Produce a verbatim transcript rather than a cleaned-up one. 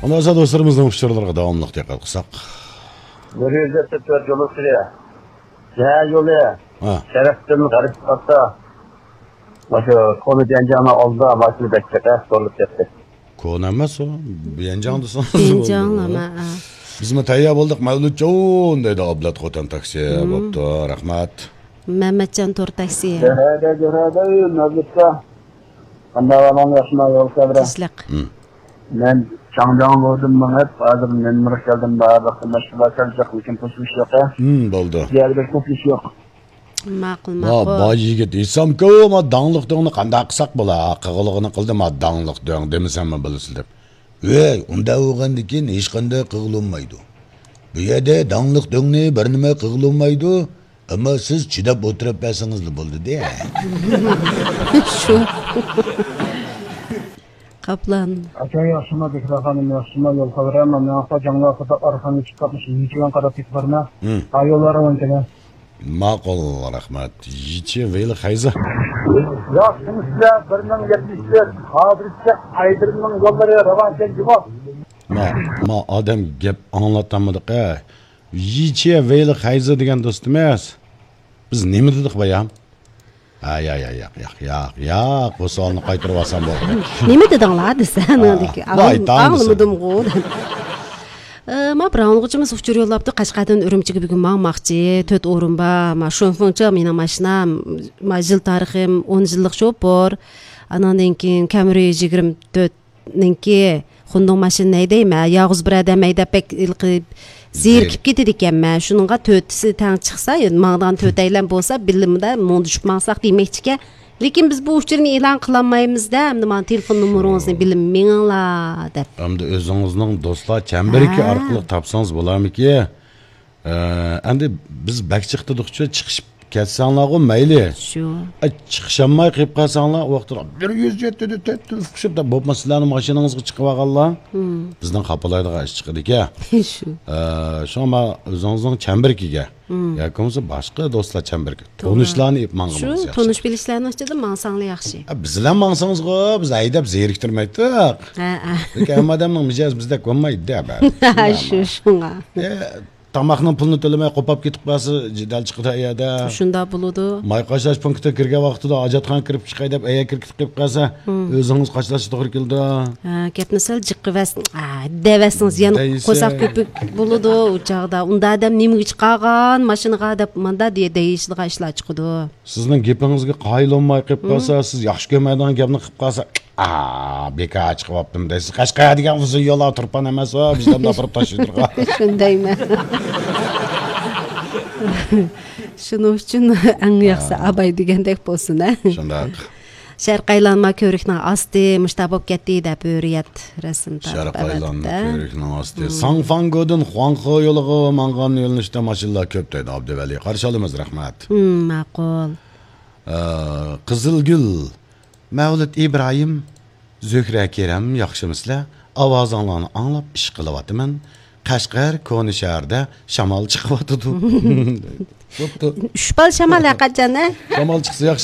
ئاندىن دوستلىرىمىزنىڭ ئۇچۇرلىرىغا داۋاملىق دىققەت قىلساق. بىر يۈز يەتمىش تۆت يول ئۈستىدە. شەھەر يولى. ھە. شەرقتىن غەربكە قارىتا. ماشۇ كونا بيەنجاڭنىڭ ئالدىدا ماشىنا بەك چەكە سورۇلۇپ كەتتى. كونا ئەمەس ئۇ. بيەنجاڭ دېسىڭىز بولىدۇ. بىزمۇ تەييار بولدۇق، مەۋلۇتجان، دەيدۇ ئابلەت خوتەن تاكسى. بوپتۇ، رەھمەت. مەمەتجان تور تاكسى. جۆرەدە، جۆرەدە، مەۋلۇتكا. قانداق ئەھۋالىڭ، ياخشىما، يول خەۋىرى؟ تىنچلىق. مەن چاڭجاڭ بولدۇم مېڭىپ، ھازىر نېمىرغا كەلدىم، بارلىق مەشغۇلات كەلجەك، لېكىن قوشۇلۇش يوق، ھە؟ بولدى. بۇ يەردە بەك قوشۇلۇش يوق. ماقۇل، ماقۇل. باي يىگىت ئېيتسامكۇ، ما داڭلىق دۆڭنى قانداق قىلساق بولا؟ قىغىلىغىنى قىلدى، ما داڭلىق دۆڭ دېمىسەممۇ بولىسىز دەپ. ۋەي، ئۇنداق بولغاندىكىن ھېچقانداق قىغىلىنمايدۇ. بۇ يەردە داڭلىق دۆڭنى بىر نېمە قىغىلىنمايدۇ. ئەمما سىز چىداپ ئولتۇرۇپ بەرسىڭىزلا بولدى-دە. شۇ. قاپلان. ئاكا ياخشىما، بىكرا خانىم ياخشىما، يول خەۋىرى ئەمما مېڭىڭلار جاڭلار خۇدا ئارخانغا چىقىپ قاتنىشىپ يىچىگەن قاراپ كېتىپ بارما. ھا يوللار ئاۋان كېلە. ماقۇل، رەھمەت. يىچى ۋېيلى خەيزى. ياخشىمۇ سىلەر؟ بىر مىڭ يەتمىش تۆت، ھازىرچە ئايدىرنىڭ يوللىرى راۋانكەن جۇمۇ. ما، ما ئادەم گەپ ئاڭلاتالمىدۇق ھە. يىچى ۋېيلى خەيزى دېگەن دوستىمىز. بىز نېمە دېدۇق بايام؟ ھە، ياق، ياق، ياق، ياق، ياق، ياق. بۇ سوئالنى قايتۇرۇۋالسام بولدى. نېمە دېدىڭلار دېسە، ھە، ئاڭلىدىكى، بايتان دېسە. ئاڭلىمىدىمغۇ دەپ. ئە، ما بىر ئاڭلىغۇچىمىز ئۇچۇر يوللاپتۇ، قەشقەردىن ئۈرۈمچىگە بۈگۈن ماڭماقچى، تۆت ئورۇن بار، ما شۇنفېڭچا مېنىڭ ماشىنام، ما يىل تارىخىم ئون يىللىق شوپۇر، ئاناندىن كېيىن كامرى يىگىرمە تۆت، نىڭكى خوندۇڭ ماشىنا ھەيدەيمەن، يالغۇز بىر ئادەم ھەيدەپ بەك ھېلىقى زېرىكىپ كېتىدىكەنمەن. شۇنىڭغا تۆتىسى تەڭ چىقسا، ماڭىدىغان تۆتەيلەن بولسا، بىللىمۇدا مۇڭدىشىپ ماڭساق دېمەكچىكەن. لېكىن بىز بۇ ئۇچۇرنى ئېلان قىلالمايمىز-دە، ئەمدى مانا تېلېفون نومۇرىڭىزنى بىلىپ مېڭىڭلار دەپ. ئەمدى ئۆزىڭىزنىڭ دوستلار چەمبىرىكى ئارقىلىق تاپسىڭىز بولارمىكى؟ ئە، ئەمدى بىز بەك چىقتىدۇقچۇ، چىقىشىپ كەتسەڭلارغۇ مەيلى. شۇ. ئە، چىقىشالماي قېلىپ قالساڭلار، ئۇ ۋاقىتتا بىر يۈز يەتتە، تۆت يۈز قىشىپ دەپ بولۇپمۇ سىلەرنىڭ ماشىنىڭىزغا چىقىۋالغانلار. بىزنىڭ خاپىلايدىغان ئىش چىقىدىكەن. شۇ. ئە، شۇڭا مانا ئۆزىڭىزنىڭ چەمبىرىكىگە ياكى بولمىسا باشقا دوستلار چەمبىرىكى، تونۇشلارنى ئېلىپ ماڭغىنىڭىز ياخشى. شۇ تونۇش بىلىشلەرنىڭ ئىچىدە ماڭساڭلار ياخشى. ئە، بىز بىلەن ماڭسىڭىزغۇ، بىز ھەيدەپ زېرىكتۈرمەيتتۇق. ھە، ھە. لېكىن ھەممە ئادەمنىڭ مىجەزى بىزدەك بولمايدۇ-دە، بەرىبىر. شۇ، شۇڭا. ئە، تاماقنىڭ پۇلىنى تۆلىمەي قوپاپ كېتىپ قالسا، جېدەل چىقىدۇ ئەيەردە. شۇنداق بولىدۇ. ماي قاشلاش پونكىتىغا كىرگەن ۋاقتىدا ھاجەتخانىغا كىرىپ چىقاي دەپ، ئەيەر كىرىپ كېتىپ قالسا، ئۆزىڭىز قاشلاشقا توغرا كېلىدۇ. ھە، گەپنى سەل جىققىۋەرسىڭىز، ئا، دەۋەرسىڭىز يەنە دەيسە. قورساق كۆپۈك بولىدۇ ئۇ چاغدا. ئۇنداق ئادەم نېمىگە چىقارغان ماشىنىغا دەپ ماندا دېيە-، دەيىشىدىغان ئىشلار چىقىدۇ. سىزنىڭ گېپىڭىزگە قايىل بولماي قېلىپ قالسا، سىز ياخشى كۆرمەيدىغان گەپنى قىلىپ قالسا، ئا، بىكار چىقىۋاپتىم دەيسىز. قەشقەر دېگەن ئۇزۇن يوللار تۇرپان ئەمەس، ۋە ۋىجداندا ئاپىرىپ تاشلىدۇرغا. شۇندايمەن. شۇنىڭ ئۈچۈن ئەڭ ياخشىسى ئاباي دېگەندەك بولسۇن، ھە؟ شۇنداق. شەرقىي ئايلانما كۆۋرۈكنىڭ ئاستى مۇشتا بولۇپ كەتتى دەپ ھۆرىيەت رەسىم تارتىپ شەرقىي ئايلانما كۆۋرۈكنىڭ ئاستى. ساڭفاڭگودىن خۇاڭخې يولىغا ماڭغان يۆنىلىشتە ماشىنىلار كۆپ دەيدۇ ئابدۇۋەلى. قارشى ئالىمىز، رەھمەت. ماقۇل. ئە، قىزىلگۈل، مەۋلۇت ئىبراھىم، زۆھرە كېرەم، ياخشىمۇسىلەر؟ ئاۋازىڭلارنى ئاڭلاپ ئىش قىلىۋاتىمەن. قەشقەر كونا شەھەردە شامال چىقىۋاتىدۇ. بوپتۇ. ئۈچ بال شامال ھەرقاچان، ھە؟ شامال چىقسا ياخشى.